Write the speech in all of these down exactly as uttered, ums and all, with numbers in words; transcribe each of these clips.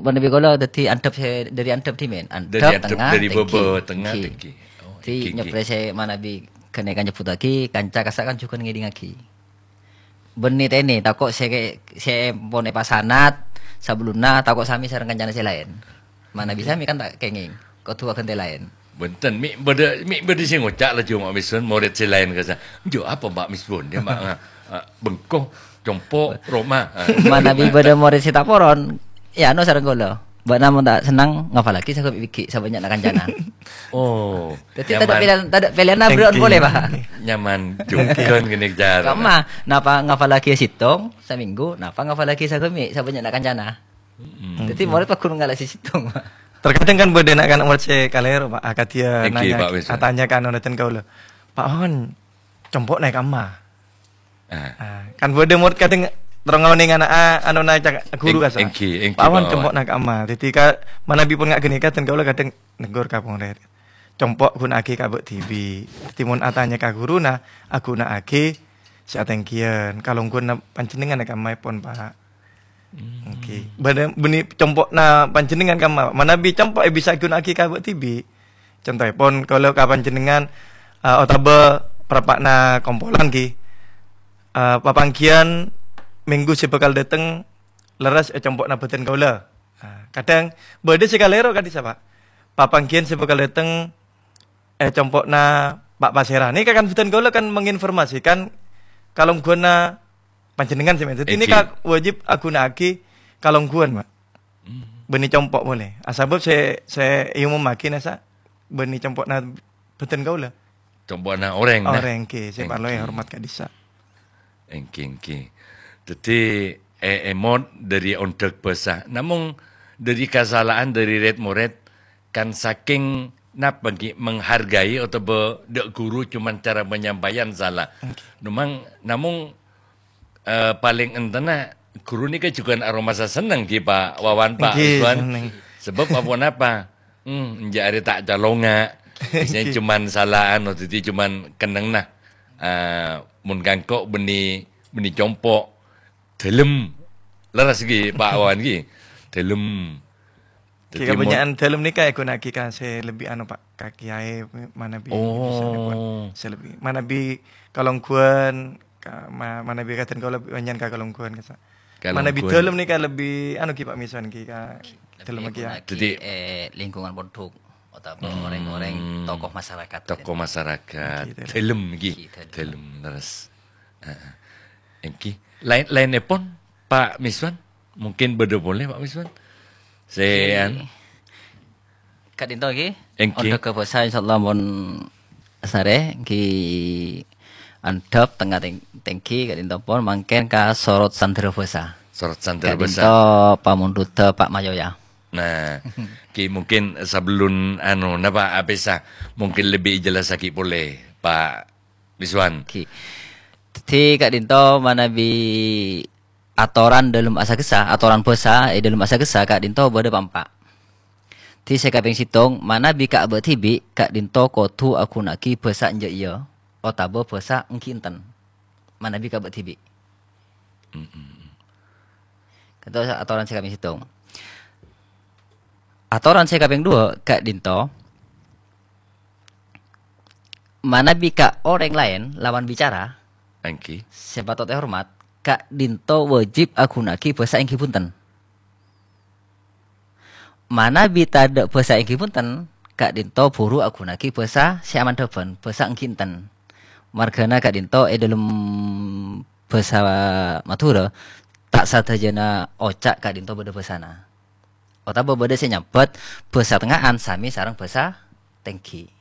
Manabi kaulâ dhâddhi andhâp sè, dhâri andhâp dhimèn. Dhâri Andhâp, andhâp, tengah, dhâri tèngghi. Bâbâ, tengah, Èngghi. Tèngghi. Dhâddhi, Èngghi, èngghi. Nyèplè sè manabi ghânèka nyebbuttaghi, kanca kassa' kan jhughân ngèdingngaghi. Bânnè tènè, tako' sè, sè pon èpasanat sabellunna tako' samè sareng kancana sè laèn. Manabi Èngghi. Samè kan ta' kèngèng, kodhu aghântè laèn. Bhunten, mè' bâdâ, mè' bâdâ sè ngoca' laju Ma' Misbun, morèd sè laèn kassa'. "Enjâ' apa Ma' Misbun? Yâ, Ma', a, a, bengko, compo', roma." Manabi bâdâ morèd sè ta' poron, yâ, anu sareng kaulâ. Bâ'na mon ta' sennang, ngafallaghi saghâmè' bighi', sabânnya'na kancana. Oh, Dhâddhi, tadâ' nyaman. Pèlèyan, tadâ' pèlèyan abrâ'ân Èngghi. Polè, Pak. Nyaman jhughân ghânèka cara. Kamma, napa ngafallaghi sèttong, samènggu, napa ngafallaghi saghâmè', sabânnya'na kancana. Mm-mm. Dhâddhi, morèd pagghun ngala' sè sèttong, Pak. Terkadang kan bâdâ na'-kana' morèd sè kalèro, Pak. Akadhi Èngghi, nanya, Pak Wisnu. Atanya ka anu, nèten kaulâ. "Pak Wan, compo' nè kamma?" Ah. Ah, kan bâdâ morèd kadhâng terro ngonèng ana', a-, anona cak-, ghuru Èng-, kassa'. Èngghi, èngghi, Pak Wan, Pak Wan. Compo' nè kamma. Dhâddhi ka-, manabi pon nga' ghânèka, dhân kaulâ kadhâng neggur ka morèd. "Compo' ghuna'aghi ka bâ' dhibi'." Dhâddhi mon atanya ka ghuruna, aghuna'aghi sè atèngghiyân. Kalongghuwânna panjhennengngan è kammaèpon, Pak. Hmm. Èngghi. Bâdâ bânnè compo'na panjhennengngan kamma. Manabi compo' è bisa èghuna'aghi ka bâ' dhibi'. Contoèpon, kaulâ ka panjhennengngan, eh, otabâ parappa'na kompolan, ghi. Eh, papangghiyân mènggu sè bhâkal dâteng lerres è compo'na bhâdhân kaulâ. Ah, kadhâng bâdâ sè kalèro ka'dissa', Pak. Papangghiyân sè bhâkal dâteng è compo'na Pa' Pasèra. Nèka kan bhâdhân kaulâ kan menginformasikan kalongghuwânna panjhennengngan sè mè-, dhâddhi Èngghi. Nèka wajib aghuna'aghi kalongghuwân, Pak. Hmm. Bânnè compo' polè. Ah, sabâb sè, sè èomommaghi nasa bânnè compo'na bhâdhân kaulâ. Compo'na orèng, nah. Orèng, ghi, sè parlo Èngghi. Èhormat ka'dissa'. Èngghi, èngghi. Dhâddhi, è-, èmot dhâri ondhâk bhâsa. Namong dhâri kasala'an dhâri rèd-morèd, kan sakèng napa, ghi, menghargai otabâ dâ' ghuru cuman cara penyampaian sala. Èngghi. Namong, namong Eh, palèng èntenna, ghuru nèka jhughân aromasa senneng, ghi, Pa' Wawan, Pa' Èngghi, Rizwan. Senneng. Sabâb aponapa? Hmm, enjâ' arè ta' calonga'. Biasanya Èngghi. Cuman sala anu, dhâddhi cuman kennengnga. Eh, mon kangko' bânnè, bânnè compo'. Dhâlem. Lerres, ghi, Pa' Wawan, ghi. Dhâlem. Dhâddhi, kabânnya'an dhâlem nèka èghuna'aghi ka sè lebbi anu, Pak, ka kiyaè manabi bisa nèko, Oh. sè lebbi. Manabi kalongghuwân, ka-, ma-, manabi kadhân kaulâ bânnya'an ka kalongghuwân, kassa'. Manabi Kalongghuwân. Dhâlem nèka lebbi anu, ghi, Pak Mison, ghi, ka Lebbi dhâlem kiyaè. Èghuna'aghi, Dhâddhi eh, lingkungan pondhuk, otabâ Hmm. orèng-orèng tokoh masyarakat. Tokoh masyarakat. Ghi, dhâlem. Dhâlem, ghi. Ghi, dhâlem. Dhâlem, lerres. Heeh. Èngghi. Laèn-, laènnèpon, Pa' Miswan? Mungkin bâdâ polè, Pa' Miswan? Sè, Èngghi. An- Ka'dinto, èngghi. Èngghi. Ondhâghâ bhâsa, insyaallah, mon sarè, èngghi andhâp tengnga teng-, tèngghi, ka'dinto pon mangkèn ka sorot sandhârâ bhâsa. Sorot sandhârâ bhâsa. Ka'dinto pamondhudhâ Pa' Mayoya. Nah, ghi mungkin sabellun, anu, napa, apèsa, mungkin lebbi èjellassaghi polè, Pa' Rizwan. Ghi. Dhâddhi ka'dinto manabi atoran dhâlem asagessa, atoran bhâsa è dhâlem asagessa ka'dinto bâdâ pa'-empa'. Dhâddhi sè kapèng sèttong, manabi ka bâ' dhibi', ka'dinto kodhu aghuna'aghi bhâsa enjâ' iyâ, otabâ bhâsa èngghi enten. Manabi ka bâ' dhibi'. Mm-mm. Ka'dinto atoran sè kapèng sèttong. Atoran sè kapèng duwâ', ka'dinto manabi ka orèng laèn lawan bicara, Èngghi. Sè patot èhormat, ka'dinto wâjib aghuna'aghi bhâsa èngghi bhunten. Manabi tadâ' bhâsa èngghi bhunten, ka'dinto buru aghuna'aghi bhâsa sè amandhâbhân, bhâsa èngghi enten. Marghâna ka'dinto è dhâlem bhâsa Madhurâ, ta' sadhâjâna oca' ka'dinto bâdâ bhâsana. Otabâ bâdâ sè nyambhât bhâsa tengnga'an samè sareng bhâsa tèngghi.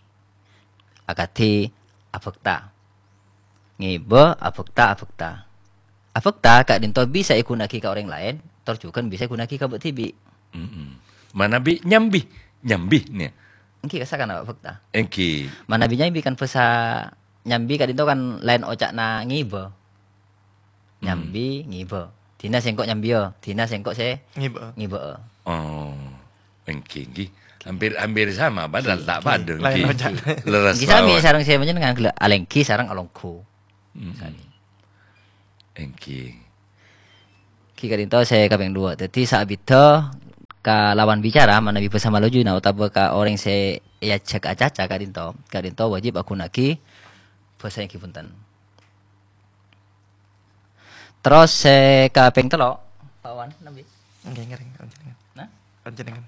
Akadhi abhâkta. Ngibâ, abhâkta, abhâkta. Abhâkta ka'dinto bisa èghuna'aghi ka orèng laèn, tor jhughân bisa èghuna'aghi ka bâ' dhibi'. Mm-mm. Manabi nyambi, nyambi, nè. Èngghi, kassa' kan abhâkta. Èngghi. Manabi nyambi kan bhâsa nyambi ka'dinto kan laèn oca'na ngibâ. Hmm. Nyambi, ngibâ. Dina sèngko' nyambiyâ, dina sèngko' sè Ngibâ'â. Ngibâ'â. Oh, èngghi, èngghi. Hampir, hampir sama, padahal Èngghi, ta' èngghi. Padâ, Laèn èngghi. Oca'. Leres Èngghi sami mawon. Sareng sè panjhennengngan ghellâ' alèngghi sareng alongghu. Mm-mm. Sami. Èngghi. Èngghi ka'dinto sè kapèng duwâ'. Dhâddhi saabiddhâ ka lawan bicara, manabi bhâsa malojuna otabâ ka orèng sè èajhâk acaca ka'dhinto, ka'dhinto wajib aghunaaghi bhâsa èngghi bhunten. Terros sè kapèng tello', Pak Wan, nambi? Ngghi, ngereng, panjenengan. Nah? Panjenengan.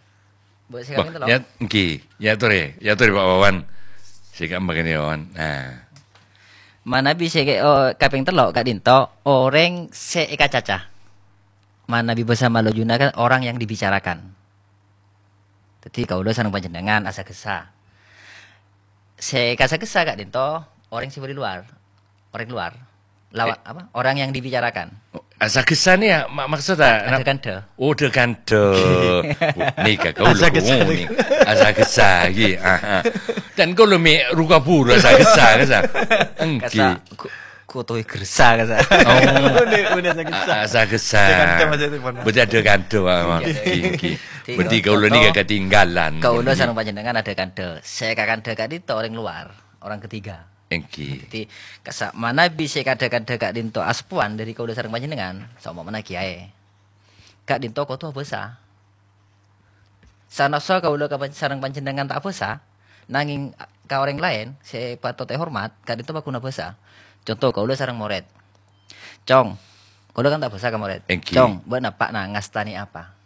Bu, sè Wah, kapèng tello'. Ya, ngghi. Ya, torè. Ya, torè, Pak Wawan. Sè kaempa kènè, Wawan. Nah. Manabi sè ke-, oh, kapèng tello', ka'dhinto, orèng sè èkacaca. Manabi bhâsa malojuna kan orang yang dibicarakan. Dhâddhi, kaulâ sareng panjenengan asa-ghessa. Sè kasa-ghessa ka'dhinto, orèng sè bâdâ luar. Orèng luar. Lawa-, Eh. apa? Orang yang dibicarakan. Oh, asa-ghessa nè ya, ma-, maksud Ka-, ada nap-, kandhâ. Oh, ada kandhâ. Oh, nèka kaulâ Asa-ghessa. Asa-ghessa, ghi. Aha. Dan kaulâ mè' ruka buru asa-ghessa, ghessa. Engghi. Kasa-, ku-, kutuwi gersa, kasa. Oh. Udah, udah asa-ghessa. A-, asa-ghessa. Ada kandhâ maksudnya, Pak. Berarti ada kandhâ, Pak. Iya, Ngghi, iya. Ngghi. Berarti kaulâ nèka ketinggalan. Kaulâ Ngghi. Sareng panjenengan ada kandhâ. Sè ka kandhâ ka'dhinto orèng luar, orang ketiga. Engghi. Dhâddhi, kasa-, manabi sè kadhâ-kadhâ ka'dhinto aseppowan dhâri kaulâ sareng panjhennengngan, saompamana kèyaè. Ka'dhinto kodhu abhâsa. Sanaossa kaulâ ka pan-, sareng panjhennengngan ta' abhâsa, nangèng a-, ka orèng laèn sè patot èhormat, ka'dhinto paghuna bhâsa. Conto, kaulâ sareng morèd. "Cong," kaulâ kan ta' abhâsa ka morèd. Engghi. "Cong, bâ'na eppa'na ngastanè apa?"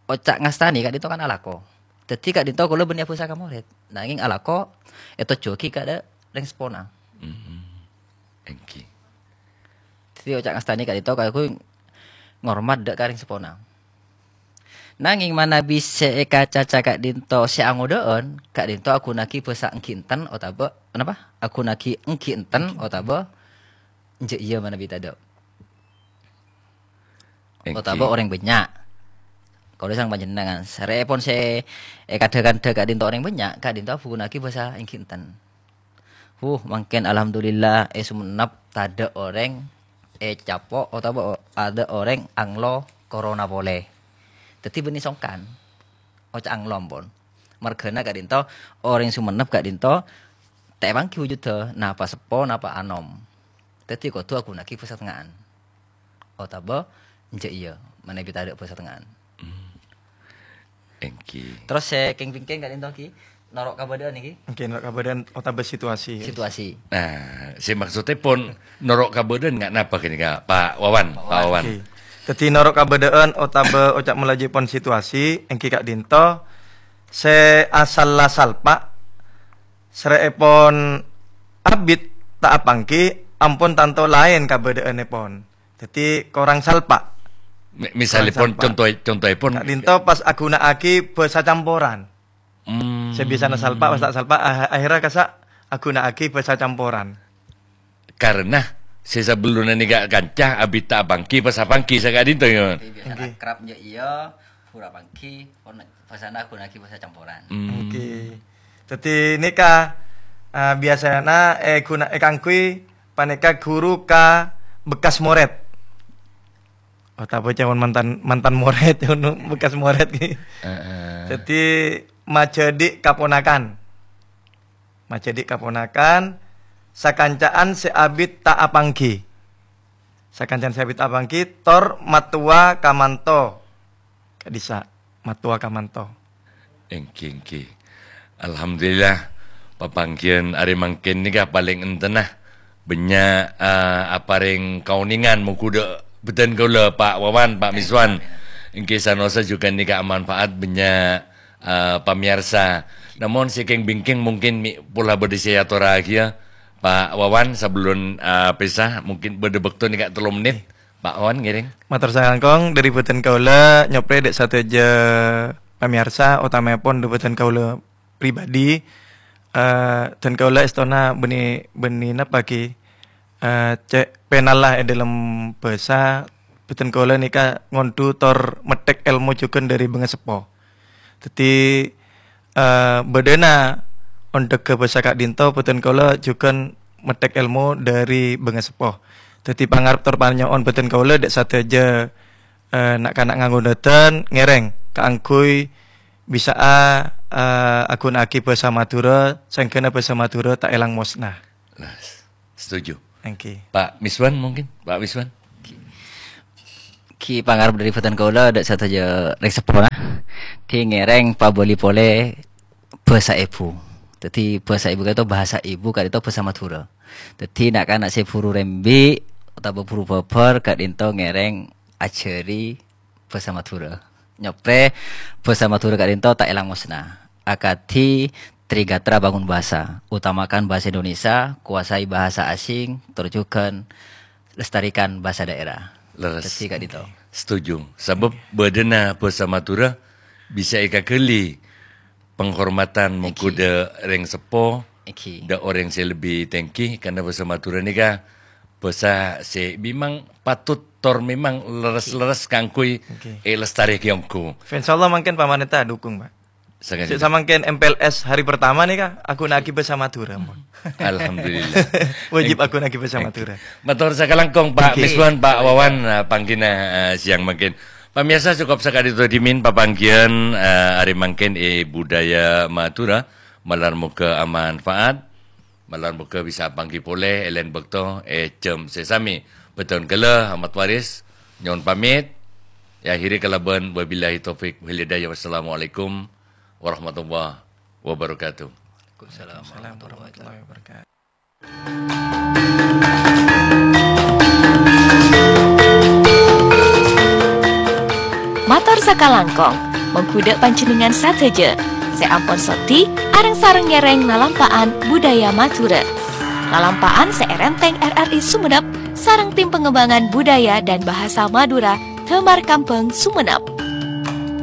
Oca' ngastanè ka'dhinto kan alako. Dhâddhi ka'dhinto kaulâ bânnè abhâsa ka morèd. Nangèng alako ètojjhuwâghi ka dâ' rèng seppona. Mm-mm. Engghi. Dhâddhi oca' ngastanè ka'dhinto kaulâ ngormat dâ' ka rèng seppona. Nangèng manabi sè èkacaca ka'dhinto sè angodâ'ân, ka'dhinto aghunaaghi bhâsa engghi enten otabâ, napa? Aghunaaghi engghi enten otabâ enjâ' iyâ manabi tadâ'. Engghi. Otabâ orèng bânnya'. Kaulâ sareng panjhennengngan, sarèèpon sè èkadhâ-kandhâ ka'dhinto orèng bânnya', ka'dhinto abhunaghi bhâsa engghi enten. Huh, mangkèn alhamdulillah, è Songennep tadâ' orèng ècapo' otabâ o-, tadâ' orèng anglo corona polè. Dhâddhi bânnè songkan, oca' anglo ampon. Marghâna ka'dhinto orèng Songennep ka'dhinto ta' èpangghi wujudda napa seppo, napa anom. Dhâddhi kodhu aghunaaghi bhâsa tengnga'an. Otabâ enjâ' iyâ, manabi tadâ' bhâsa tengnga'an. Hmm. Engghi. Terros sè kèng-bingkèng ka'dhinto ghi, noro' kabâdâ'ân nèkè? Engghi, noro' kabâdâ'ân otabâ situasi. Situasi. Nah, sè maksoddhâpon noro' kabâdâ'ân nga' napa ghânèka, Pak Wawan? Pak Wawan. Pak Wawan. Engghi. Dhâddhi noro' kabâdâ'ân otabâ oca' malajâèpon situasi, engghi ka'dhinto, sè asalla salpa', sarèèpon abit ta' apangghi, ampon tanto laèn kabâdâ'ânnèpon. Dhâddhi korang salpa'. Mi-, misalèpon, korang salpa'. Conto-, contoèpon. Ka'dhinto pas aghunaaghi bhâsa camporan. Hmm. Sè biasana salpa', pas ta' salpa', ah-, akhèrra kassa' aghunaaghi bhâsa camporan. Karena sè sabellunna nèka kanca abit ta' apangghi, pas apangghi saka'dhinto, ya. Dhâddhi biasana Engghi. Akrab, ya, iyâ, pura apangghi, pon-, bhâsana aghunaaghi bhâsa camporan. Hmm. Engghi. Dhâddhi nèka, ah, biasana èghuna-, èkaangghuy panèka ghuru ka bekas morèd. Otabâ ca'èpon mantan, mantan morèd, bekas morèd, ghi. Heeh. Dhâddhi, majhâdhi' kaponakan. Majhâdhi' kaponakan, sakanca'an sè abit ta' apangghi. Sakanca'an sè abit ta' apangghi, tor mattowa ka manto. Ka'dhissa', mattowa ka manto. Engghi, engghi. Alhamdulillah, papangghiyân arè mangkèn nèka palèng enten, ah. Bânnya', eh, aparèng kaonèngan mongghu dâ' bhâdhân kaulâ, Pak Wawan, Pak Miswan. Engghi, sanaossa jhughân nèka manfaat bânnya', eh, pamèyarsa. Namong sè kèng-bingkèng mungkin mè' pola bâdâ sè èatorraghiyâ, Pak Wawan, sabellun, eh, pèsa, mungkin bâdâ bâkto nèka tello mennit. Pak Wan, ngèrèng. Mator sakalangkong, dhâri bhâdhân kaulâ nyoprè dâ' sadhâjâ pamèyarsa, otamaèpon dhâri bhâdhân kaulâ pribadi, eh, dhân kaulâ èstona bânnè, bânnè napa ghi, eh, cè' pènalla è dhâlem bhâsa, bhâdhân kaulâ nèka ngonḍhu tor metthèk èlmo jhughân dhâri bângaseppo. Dhâddhi, eh, bâdâna onḍhâghâ bhâsa ka'ḍinto bhâdhân kaulâ jhughân metthèk èlmo dhâri bângaseppo. Dhâddhi, pangarep tor panyo'on bhâdhân kaulâ ḍâ' sadhâjâ, eh, na'-kana' ngangghuna dhân ngèrèng kaangghuy bisa'a, eh, aghuna'aghi bhâsa Madhurâ, sèngghâna bhâsa Madhurâ ta' èlang mosna. Nah, setuju. Oke. Pak Miswan mungkin? Pak Miswan? Ghi pangarep dhâri bhâdhân kaulâ ḍâ' sadhâjâ rèng seppona. Dhâddhi ngèrèng pabâli polè bhâsa èbhu. Dhâddhi bhâsa èbhu ka'dinto, bhâsa ibu ka'dinto bhâsa Madhurâ. Dhâddhi na'-kana' sè buru rembi' otabâ buru bhâbhâr ka'dinto ngèrèng ajhâri bhâsa Madhurâ. Nyoprè bhâsa Madhurâ ka'dinto ta' èlang mosna. Akadhi Trigatra Bangun Bahasa, utamakan bahasa Indonesia, kuasai bahasa asing, tor jhughân lestarikan bahasa daerah. Leres. Dhâddhi ka'dinto. Setuju. Sabâb bâdâna bhâsa Madhurâ bisa èkaghâli penghormatan mongghu dâ' rèng seppo, dâ' orèng sè lebbi tèngghi, karna bhâsa Madhurâ nèka bhâsa sè memang patut tor memang lerres-lerres kaangghuy èlestarèaghi ongghu. Insyaallah mangkèn pamarènta dukung, Pak. Sè samangkèn M P L S hari pertama nèka, aghuna'aghi bhâsa Madhurâ, Pak. Alhamdulillah. Wajib aghuna'aghi bhâsa Madhurâ. Mator sakalangkong, Pak Miswan, Pak Wawan, eh, pangghina, eh, siang mangkèn. Pamiyarsa, cokop saka'dinto dhimèn papangghiyân, eh, arè mangkèn è Budaya Madhurâ. Malar moghâ amanfaat. Malar moghâ bisa apangghi polè è laèn bâkto è jhâm sè samè. Bhâdhân ghellâ', Ahmad Waris, nyo'on pamèt. Èakhèrè kalabân wabillahi taufik wal hidayah. Wassalamualaikum warahmatullahi wabarakatuh. Waalaikumsalam warahmatullahi wabarakatuh. Mator sakalangkong, mongghu dâ' panjhennengngan sadhâjâ sè ampon soddhi areng-sareng ngèrèng lalampa'an budaya Madhurâ. Lalampa'an sè èrèntèng R R I Sumenep sareng Tim Pengembangan Budaya dan Bahasa Madura Damar Kambang Sumenep.